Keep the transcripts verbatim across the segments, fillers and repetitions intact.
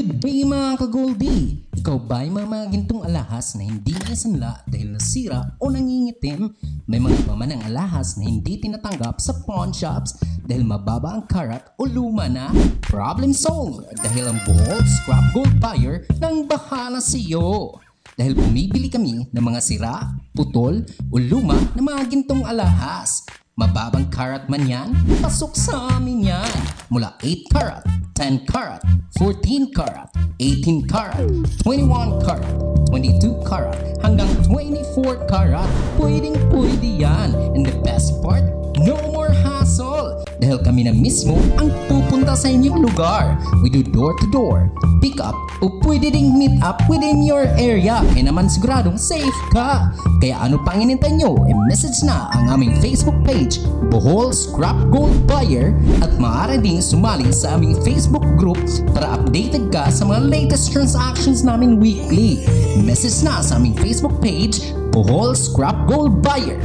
Good day, mga ka-Goldie! Ikaw ba ay mga mga gintong alahas na hindi naisanla dahil nasira o nangingitim? May mga pamanang alahas na hindi tinatanggap sa pawn shops dahil mababa ang karat o luma na? Problem solved! Dahil ang Bohol Scrap Gold Buyer nang bahala sa iyo! Dahil bumibili kami ng mga sira, putol o luma na mga gintong alahas. Mababang karat man yan, pasok sa amin yan. Mula eight karat, ten karat, fourteen karat, eighteen karat, twenty-one karat, twenty-two karat, hanggang twenty-four karat. Pwedeng pwede yan. And the best part, no more hassle. Dahil kami na mismo ang pupunta sa inyong lugar. We do door-to-door, pick up, o pwede ding meet up within your area. Kaya naman siguradong safe ka. Kaya ano pang inintay nyo? I-message na ang aming Facebook page, Bohol Scrap Gold Buyer, at maaari ding sumali sa aming Facebook group para updated ka sa mga latest transactions namin weekly. Message na sa aming Facebook page, Bohol Scrap Gold Buyer.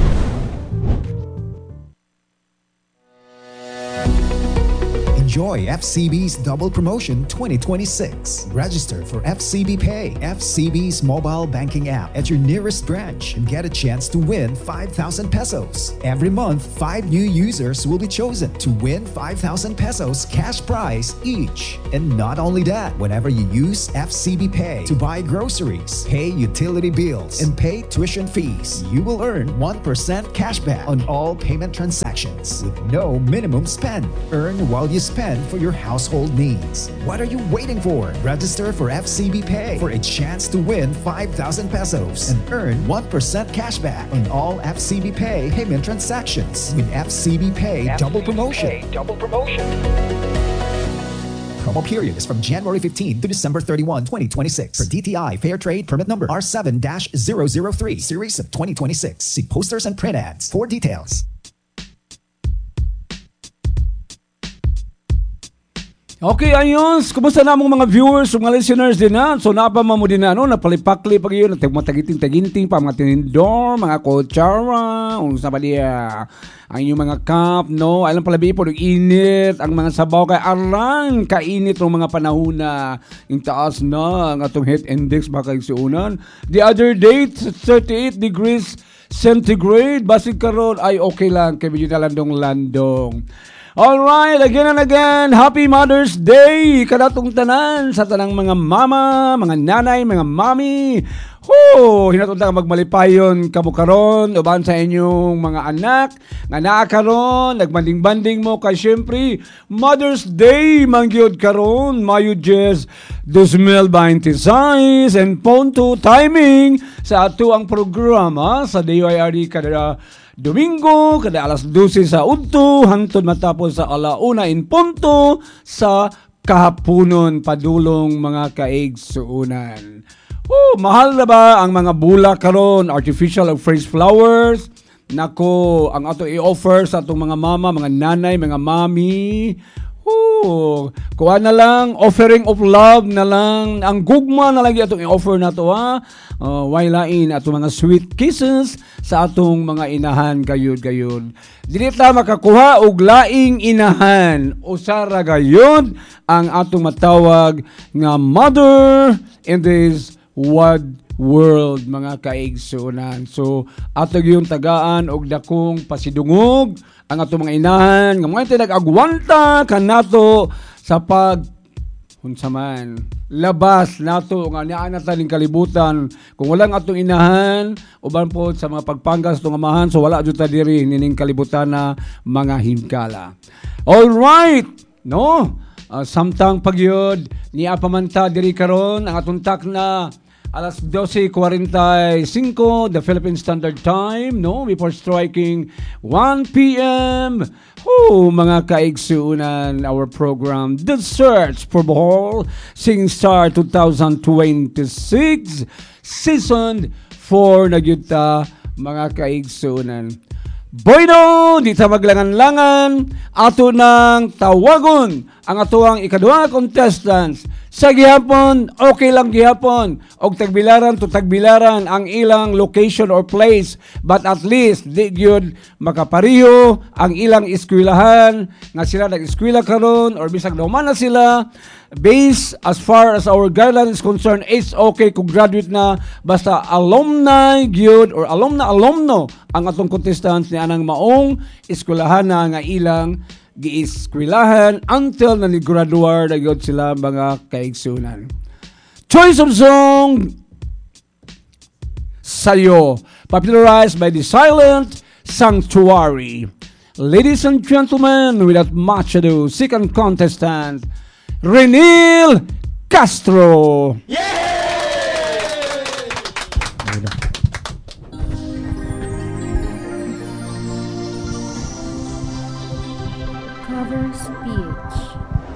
Enjoy F C B's Double Promotion twenty twenty-six. Register for F C B Pay, F C B's mobile banking app, at your nearest branch and get a chance to win five thousand pesos. Every month, five new users will be chosen to win five thousand pesos cash prize each. And not only that, whenever you use F C B Pay to buy groceries, pay utility bills, and pay tuition fees, you will earn one percent cashback on all payment transactions with no minimum spend. Earn while you spend for your household needs. What are you waiting for? Register for F C B Pay for a chance to win five thousand pesos and earn one percent cashback on all F C B Pay payment transactions with F C B Pay Double Promotion. Double Promotion. Promo period is from January fifteen to December thirty-one, twenty twenty-six. For D T I Fair Trade Permit Number R seven zero zero three, Series of twenty twenty-six. See posters and print ads for details. Okay, ayun. Kumusta na among mga viewers, mga listeners din na? So, napama mo din na, ano, napalipakli pag yun, matagiting-taginting pa, mga tinindor, mga kutsara, unsa ba diya, ang inyong mga cup, no? Alam pala po, init, ang mga sabaw kay arang, kainit ng mga panahon na yung taas na ang atong heat index baka igsuunan. The other day, thirty-eight degrees centigrade, basig karon ay okay lang, kay medyo nalandong-landong. Alright, again and again, Happy Mother's Day kanatong tanan sa tanang mga mama, mga nanay, mga mami. Ho, hinatong ta magmalipayon kamo karon uban sa inyong mga anak nga naa karon, nagmanding-banding mo kay syempre Mother's Day mangyud karon, Mayo ten, twenty twenty-six and punto timing sa ato ang programa sa D Y R D kada Domingo, kada alas dose sa udto, hangtod matapos sa alauna in punto sa kahaponon padulong, mga kaigsuunan. Oh, mahal na ba ang mga bulak karon, artificial o fresh flowers? Nako, ang ato i-offer sa atong mga mama, mga nanay, mga mami. Oh, kuha na lang, offering of love na lang, ang gugma na lagi atong i-offer na to, ha. Uh, way lain atong mga sweet kisses sa atong mga inahan gayud gayud. Dili ta makakuha og laing inahan. Usa ra gayud ang atong matawag nga mother in this wide world, mga kaigsuonan. So ato gyud tagaan og dakong pasidungog ang atong mga inahan nga mga nag-agwanta kanato sa pag unsa man labas nato nga naa na ta ning kalibutan. Kung walang atong inahan uban po sa mga pagpanggas atong amahan, so wala jud ta diri nining kalibutan na, mga himkala. All right, no? Uh, samtang pagyud niya pamanta diri karon ang atong takna alas dose kwarenta y singko the Philippine Standard Time, no? Before striking one p m. Oh, mga kaigsuunan, our program, The Search for Bohol Singing Star twenty twenty-six Season four na gyud ta, mga kaigsuunan. Bueno, di ta maglangan-langan, ato nang tawagon ang atuang ikaduha nga contestants. Sa gihapon, okay lang gihapon. Og tagbilaran to tagbilaran ang ilang location or place. But at least, di gyud makapariho ang ilang eskwelahan nga sila nag-eskwela karon or bisag nahuman na sila. Based as far as our guideline is concerned, it's okay kung graduate na basta alumni gyud or alumna alumno ang atong contestants ni anang maong eskwelahan na nga ilang gieskwelahan until na ni-graduate na gyud sila mga kaigsunan. Choice of song Sayo, popularized by the Silent Sanctuary. Ladies and gentlemen, without much ado, second contestant, Renil Castro. Yeah!